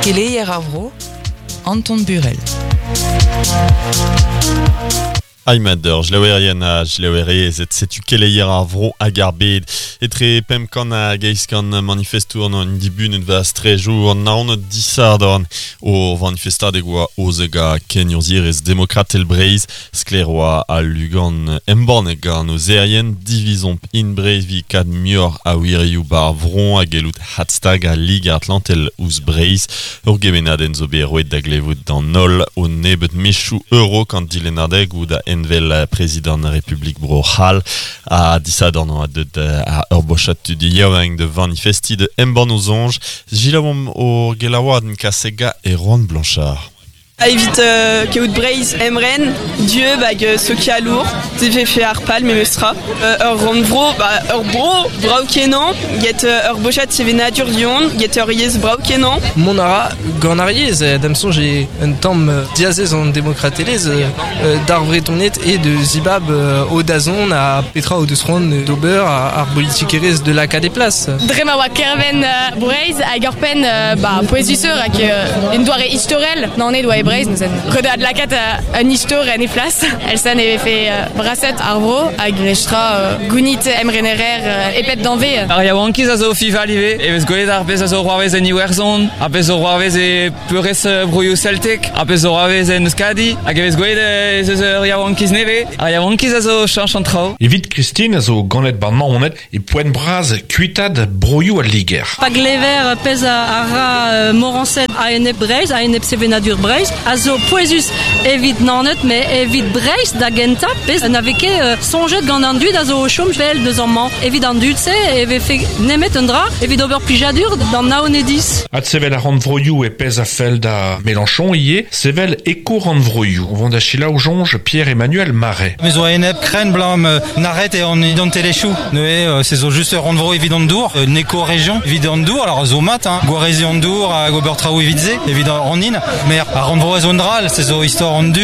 Keleier ar vro, Anton Burel. Aymat ur jlaouerien ha jlaouerezed, setu keleier ar vro hag ar bed. Etre 500 hag 800 manifestour an dibunet va strejoù an Naoned disadorn o vanifestadeg oa ozeg ha kenurzhierezh demokratel Breizh. Sklaer oa al lugan embannet gant ozerien divizomp in Breizh 'vit kad muioc'h a wirioù 'bar vro ha gellout hadstagañ Liger Atlantel ouzh Breizh. Ur gemennadenn zo bet roet da glevout d'an holl o nebeut mezhioù a-raok an dilennadegoù da envel prezidant Republik Bro-C'hall. Ha disadorn oa deuet ur bochad tud yaouank da vanifestiñ da embann o soñj. Selaouomp hor gelaouadenn kasega Erwan Blanchard. Evit kaout Breizh emren, dieub hag sokialour, se vefe ar pal memestra. Ur rannvro, ba ur bro brav-kenañ, get ur bochad sevenadur du-hont, get ur yezh brav-kenañ. Mont a ra gant ar yezh, da'm soñj eo un tamm diazez an demokratelezh d'ar Vretoned eo da zibab o dazont ha petra o deus c'hoant d'ober ar bolitikerezh de lakaat e plas. Dre ma oa Kerven Breizh hag ur penn ba pouezusoc'h hag un doare istorel Naoned oa e Breizh neuze ret eo adlakaat un istor en he flas. Elsa ne vefe braset ar vro hag estra gounit emrenerer e pep danvez. Ar yaouankiz a zo fival ivez e vez gwelet ar pezh a zo c'hoarvez en Iwerzhon, ar pezh zo c'hoarvez e peurrest broioù celtek, ar pezh zo c'hoarvez en Euskadi hag e vez gwelet ez eus ur yaouankiz nevez. Ar yaouankiz a zo cheñch an traoù. Evit Christine a zo ganet 'ba Naoned E poent bras kuitaat broioù al Liger. Pa glever pezh a ra Morañsed a-enep Breizh, a-enep sevenadur Breizh, a zo pouezus evit Naoned, met evit Breizh da gentañ, pezh na vez ket soñjet gant an dud a zo o chom pell deus amañ. Evit an dud-se e vefe nemet un dra evit ober plijadur d'an Naonediz. Adsevel ar rannvroioù e pezh a fell da Mélenchon ivez, sevel eko-rannvroioù. O vont da selaou soñj Pierre-Emmanuel Marais. Me zo a-enep krenn 'blam nac'het eo an identelezhioù. Neuze, se zo just ur rannvro evit an dour, un éco-région evit an dour. Alors zo mat, hein, gwareziñ an dour hag ober traoù evit se, evit an hin. Mais ar rannvro a zo un dra all, se zo istor an du,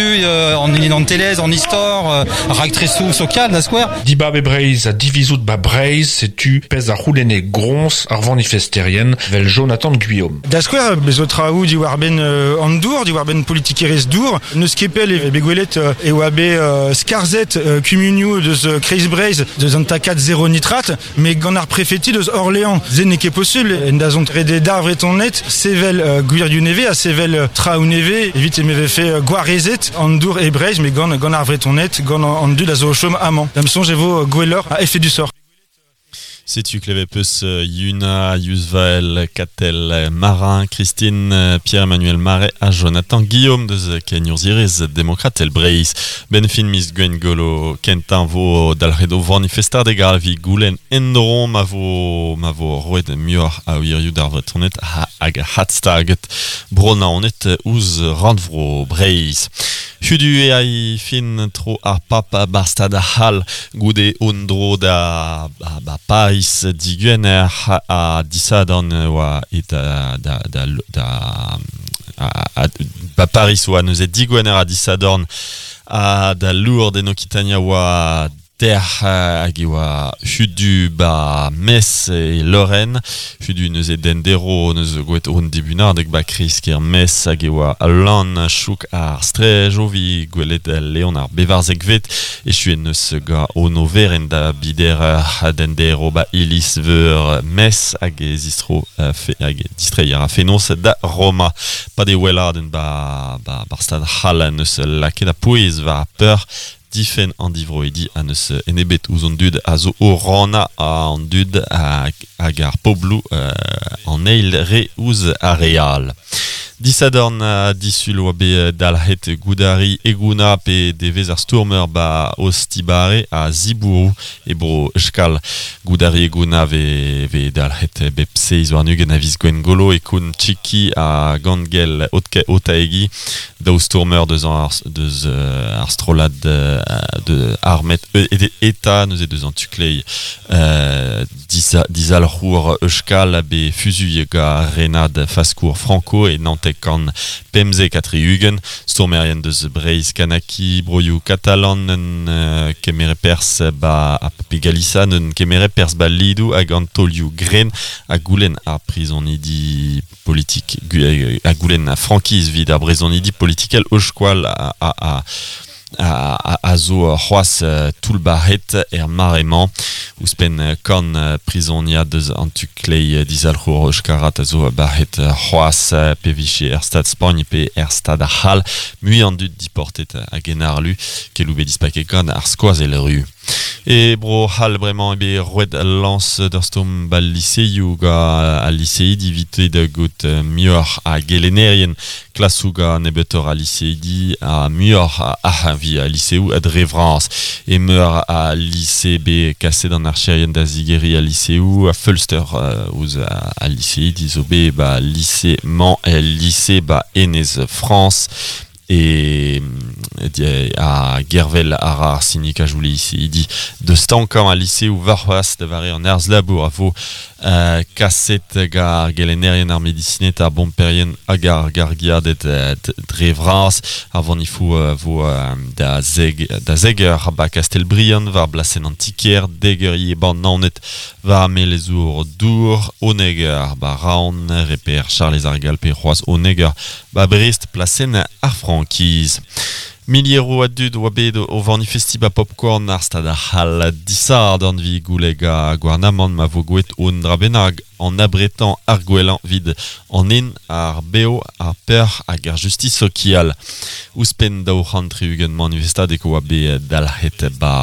an identelezh, an istor, raktresoù sokial da skouer. Dibab e Breizh ha divizout 'ba Breizh, setu pezh a c'houlenne groñs ar vanifesterien 'vel Jonathan Guillaume. Da skouer, bez zo traoù diwar-benn an dour, diwar-benn politikerezh dour. N'eus ket pell e bet gwelet e oa bet skarzhet kumunioù deus Kreiz-Breizh deus an takad zero nitrat, met gant ar prefeti deus Orléans, se n'eo ket posubl. En dazont ret d'ar Vretoned sevel gwirioù nevez ha sevel traoù nevez evit e vefe gwarezet an dour e Breizh, met gant, gant ar Vretoned, gant an dud a zo o chom amañ. Da'm soñj e vo gwelloc'h ha efedusoc'h. Setu klevet peus Yuna, Yuzvael, Katell, Marin, Christine, Pierre-Emmanuel Marais ha Jonathan Guillaume deus kenurzhierezh demokratel Breizh. Benn fin miz Gwengolo kentañ vo dalc'het o vanifestadeg ar evit goulenn en-dro ma vo ma vo roet muioc'h a wirioù d'ar Vretoned hag hadstaget Bro-Naoned ouzh rannvro Breizh. Hudu eo ai fin tro ar pap 'bar stad c'hall goude un dro da ba Pariz digwener ha disadorn oa et da da da da ba Pariz oa neuze digwener ha disadorn ha da Lourdes en Okitania oa Dec'h hag e oa hudu 'ba Metz e Lorraine. Hudu neuze d'endero neus gwelet hon dibunadeg 'ba kreiz-kêr Metz hag e oa lan chouk ar straej o vi gwelet Leon ar bevarzekvet. Echuet neus gant o overenn da bider d'endero 'ba iliz-veur Metz hag e zistro hag e distreiñ a ra fenoz da Roma. Pad e weladenn 'ba 'bar stad c'hall neus lakaet ar pouez war ar peur Difenn an divroidi ha n'eus enebet ouzh an dud a zo o rannañ an dud hag ar pobloù an eil re ouzh ar re all. Disadorn ha disul oa bet dalc'het goudari Eguna pe devezh ar stourmer 'ba Ostibare ha Zibourou e bro Euskal. Goudari Eguna vez vez dalc'het bep 27 a viz Gwengolo e koun Txiki ha Gangel Otaegi. Daou stourmer deus ar, deus ar strollad de armet eta neuze deus an tu-kleiz dizalc'hour Euskal be fuzuilh gant renad faskour Franco e Nanterre. 1975 stourmerien deus Breizh Kanaki broioù katalan un kemere perzh ba a pe Galiza un kemere perzh ba lidoù hag an taolioù gren ha goulenn ar prizonidi politik ha goulenn a frankiz evit ar brezonidi politikel o skoal a a zo c'hoazh toullbac'het er mare-mañ. Ouzhpenn kant prizoniad eus an tu kleiz dizalc'hour euskarat a zo bac'het c'hoazh pe vije er Stad Spagn pe er Stad c'hall. Mui an dud diportet hag en arlu keloù bet dispaket gant ar skoazell ru. E bro c'hall bremañ eo bet roet lañs d'ur stourm b'al liseioù gant al liseidi evit da gaout muioc'h a gelennerien klasoù gant nebeutoc'h a liseidi ha muioc'h a arc'hañvi a liseoù dre vras. E meur a lise bet kaset an archerien da zigeriñ al liseoù a feulster ouzh al liseidi zo bet ba lise-mañ el lise ba Enez Frañs. E a gervel a ra ar sindikajoù liseidi da stankañ al liseoù warc'hoazh da vare an harz-labour a vo kaset gant ar gelennerien, ar medisined, ar bomperien hag ar gargiaded dre vras. Ar vanifoù vo da zeg da zeg eur ba Kastell-Briant war blasenn an ti-kêr, dek eur ivez 'ba Naoned war melezour dour, unnek eur ba Raon, reper Charlez ar Gall pe c'hoazh unnek eur ba Brest plasenn ar frankiz. Milieroù a dud oa bet o vanifestiñ ba Popcorn ar stad ar c'hall disadorn evit goulenn gant gouarnamant ma vo gwelet un dra bennak an abretañ ar gwellañ evit an hin, ar bev, ar peoc'h hag ar justis sokial. Ouzhpenn 260 manifestadeg oa bet dalc'het ba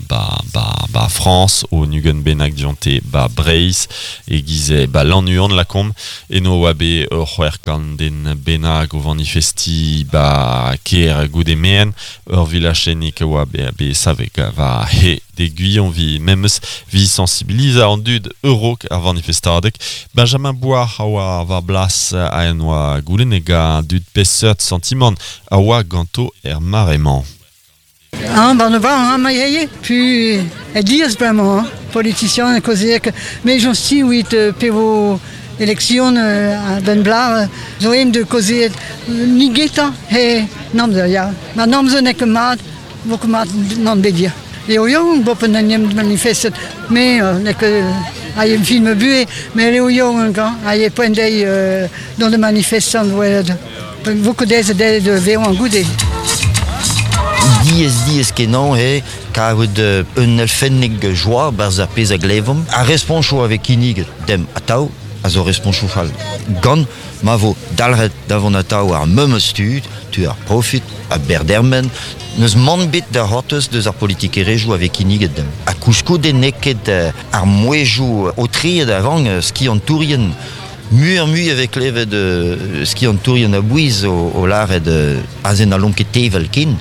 ba ba ba Frañs, un 20 bennak dionte ba Breizh, e-giz ba Lannuon lakaomp. Eno oa bet ur 600 den bennak o vanifestiñ ba kêr goude merenn. Ur vilachennig a oa bet savet war he de Guillon vi memes vi sensibilizañ an dud a-raok ar vanifestadeg. Benjamin Bois a oa war blas a en oa goulennet gant dud peseurt santimant a oa ganto er mare-mañ. Ah, ben ne va, hein, ma yaye. Puis, e diaz bremañ, hein, politicien, kaozeek. Mais j'en suis, oui, pe vo election a ben blar, zo em de kaozeet nigetañ he namzer, ya. Ma namzer n'eo ket mat, vo ket mat nann bet Eo yaouank bopen en em manifestet, me n'eo ket a em film buhe, mais eo yaouank, hein, a e poent dezhi dont de manifestant welet. Vo ket aes dezhe de vezañ goude. Diaes diaes kenañ eo karout un elfennig joa 'barzh ar pezh a glevomp. Ar responchoù a vez kinniget demp atav a zo responchoù fall. Gant ma vo dalc'het da vont atav ar memes tud, tu ar profit, a berdermen, n'eus mann bet da c'hortoz deus ar politikerezhioù a vez kinniget demp. Ha koulskoude n'eo ket ar mouezhioù aotreet a rank skiantourien. Muioc'h-mui e vez klevet skiantourien a-bouez o lâret aze n'hallomp ket tevel ken.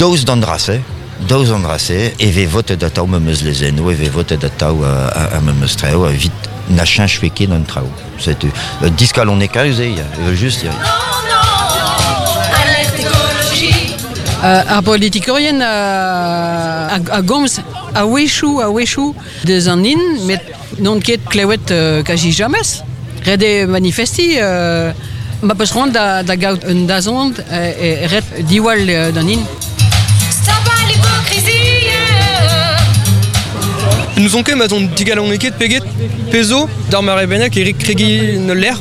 Daoust d'an dra-se, daoust d'an dra-se, e vez votet atav memes lezennoù, e vez votet atav ar memes traoù evit na cheñchfe ket an traoù. Setu diskalonekaus eo, evel-just. Ya. Ar politikourien a gomz a-wechoù, a-wechoù deus an hin, met n'on ket klevet kazi james. Ret eo manifestiñ, ma peus c'hoant da, da gaout un dazont, e ret diwall d'an hin. Stop à l'hypocrisie. N'ouzon ket ma zon digaloneket peget pezo d'ar mare bennak Eric kregiñ ul lec'h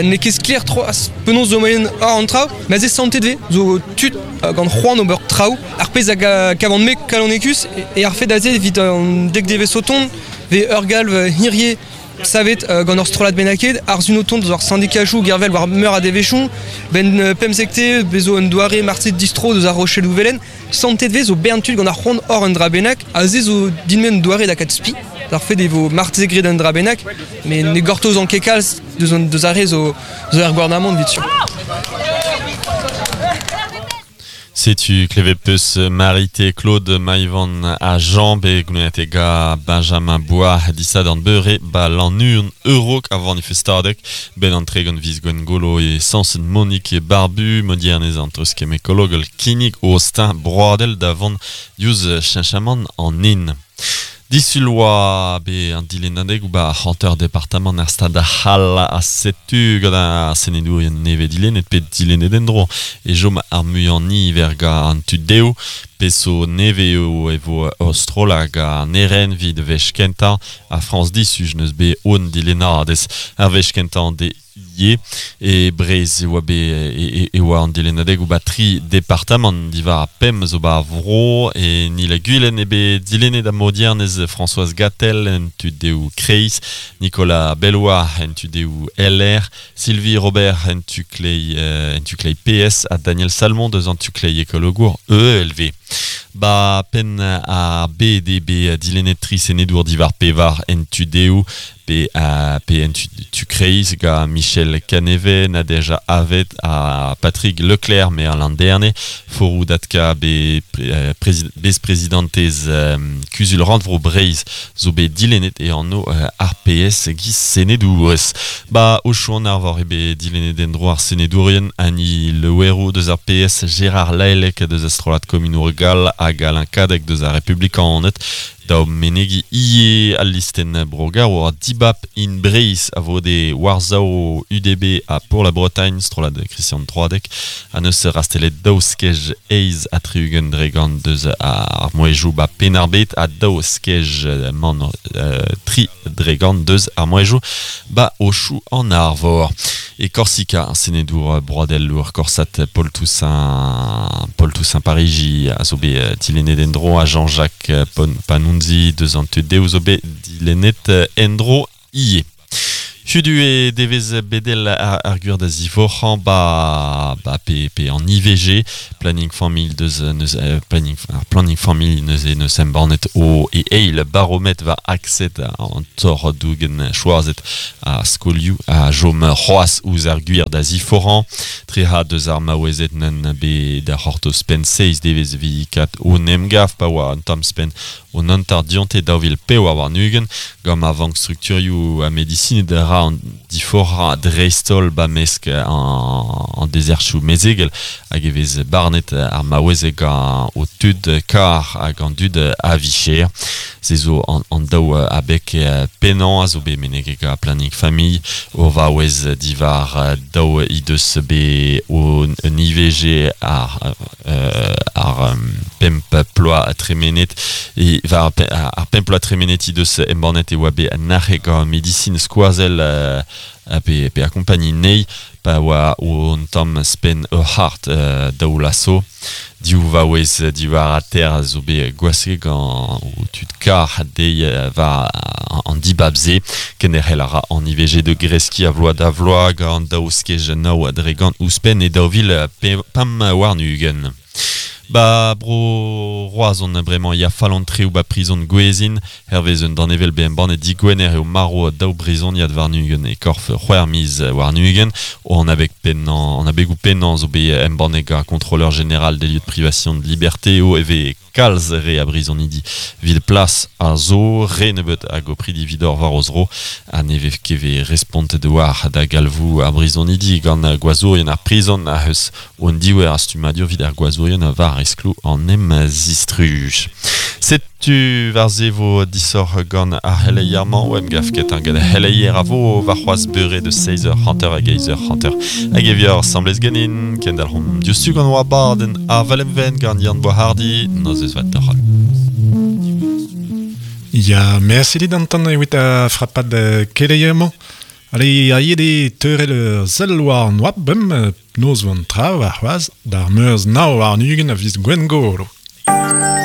n'eo ket sklaer troaz penaos zo moaien hor an traoù ma ze santet vez zo tud gant c'hoant ober traoù ar pezh a gavan-me kalonekus e ar fed aze evit an dek devezh o tont vez ur galv hirie savet gant ur strollad bennaket ar sun o tont eus ar syndikajoù gervel war meur a devezhioù ben pemzekte bezo un doare marse distro deus ar Rocheloù Velen santet vez zo bern tud gant ar c'hoant hor un dra bennak aze zo din-me un doare da kat spi d'ar fed e vo marteze graet un dra bennak met ne gortozan ket kalz deus an deus ar re zo zo er gouarnamant evit sur. Setu klevet peus Marité, Claude, Maïvan ha Jean bet goulennet ga Benjamin Bois disadorn beure ba Lannuon a-raok ar vanifestadeg ben an 30 viz Gwengolo e Samson Monique Barbu modiernez an treuzkemm ekologel kinnig o steuñv broadel da vont diouzh cheñchamant an hin. Disul oa be an dilennadeg ou ba hanter departamant ar stad c'hall a setu gant ar senedourien neve dilennet pe dilennet endro e jom ar muiañ niver ga an tud dezho peso neve eo e vo ur hag an eren vid wech kentañ a Frañs disuj neus be on dilennadez ar wech kentañ de ie e Breizh e oa be e oa an dilennadeg ou ba tri departamant divar pem zo ba vro e ni la Gwilen e be dilennet a modiernez Françoise Gatel en tu deo Kreiz, Nicolas Bellois en tu deo LR, Sylvie Robert en tu klei PS ha Daniel Salmon deus an tu klei ekologour EELV. Ba pen a BDB dilennet tri senedour divar pevar en tu deo pe a pe en tu kreiz ga Michel Caneve, Nadège Avet ha Patrick Leclerc me an landerne forou datka be bez-prezidentez kuzul rannvro Breizh zo bet dilennet e anv RPS giz senedourez. Ba o chouan ar vor e bet dilennet endro ar senedourien Annie Le Houerou deus ar PS, Gérard Laelec deus Astrolad Kominour Gall hag Alain Cadec deus ar Republikanet da menegi ie al listen brogar war dibap in Breizh a vo de Warzao UDB a pour la Bretagne strolad Christian Troadec a neus rastelet daou skej eiz a triugen dregant deus ar moejou ba penarbet a daou skej man tri dregant deus ar moejou ba ochou an arvor. E Corsica, senedour broadel lour Corsat Paul Toussaint Parigi a zo bet dilennet endro a Jean-Jacques Panunzi deus an tu deus zo bet dilennet endro ie. Hudu e devez bedel ar gwir da zivorc'hañ ba pe, pe an IVG planning familh deus neus planning ar planning familh neus e neus embannet o e eil baromet va akset an tor dougen choazet a skolioù a jom c'hoaz ouzh ar gwir da ziforc'hañ tre ha deus ar maouezet nen be da c'hortoz pen seiz devez vi kat o nemgav pa oa an tamm spen o nantar dionte daou vil pevar warn-ugent gant ma vank strukturioù a medicine da ra an diforc'hañ dreist-holl ba mesk an dezerchoù mezegel hag e vez barnet ar maouezeg gant o tud kar hag an dud a vicher. Se zo an daou abeg pennañ a zo bet menegek a planning familh o vaouez divar daou he deus bet o un IVG ar pemp ploaz tremenet e var ar pemp ploaz tremenet he deus embannet e oa bet nac'hek gant medicine skoazell pe akompagni nei pa oa o an tamm spen ur c'hart daou laso div vaouez diwar a ter a zo bet gwaske gant o tud kar deiz war an dibab-se kenderc'hel a ra an IVG de greski a vloaz da vloaz gant daou skej naou dre gant ouzhpenn e daou vil pemp warn-ugent. Ba bro Roazhon bremañ ya fallantre ou ba prizon Gwezin hervez un danevel be embannet digwener eo maro daou brizoniad warn-ugent e korf c'hwec'h miz warn-ugent o an abeg pennañ an abegoù pennañ zo bet embannet gant contrôleur général des lieux de privation de liberté o eve kalz re a brizonidi vil plas a zo re nebeut hag o pridi vidor war o zro a neve keve respontet war da galvou ar brizonidi gant gwazourien ar prizon a eus on diwer a stumadur vid ar gwazourien a var esklo an em zistruj. Setu war ze vo disoc'h gant ar c'heleier-mañ o em gaf ket an gant ar c'heleier a vo war c'hoazh beure de 16h hanter hag 8h hanter hag evior semblez ganin kendalc'homp diouzhtu gant oa baden ar Valemven gant Yann Boishardy noz eus vat doc'hal. Ya, merci dit d'antan evit a frapad keleier-mañ. Allez, a yede teurel ur sell war an oab bem noz van tra war c'hoazh d'ar meurz nav warn-ugent a viz Gwengolo.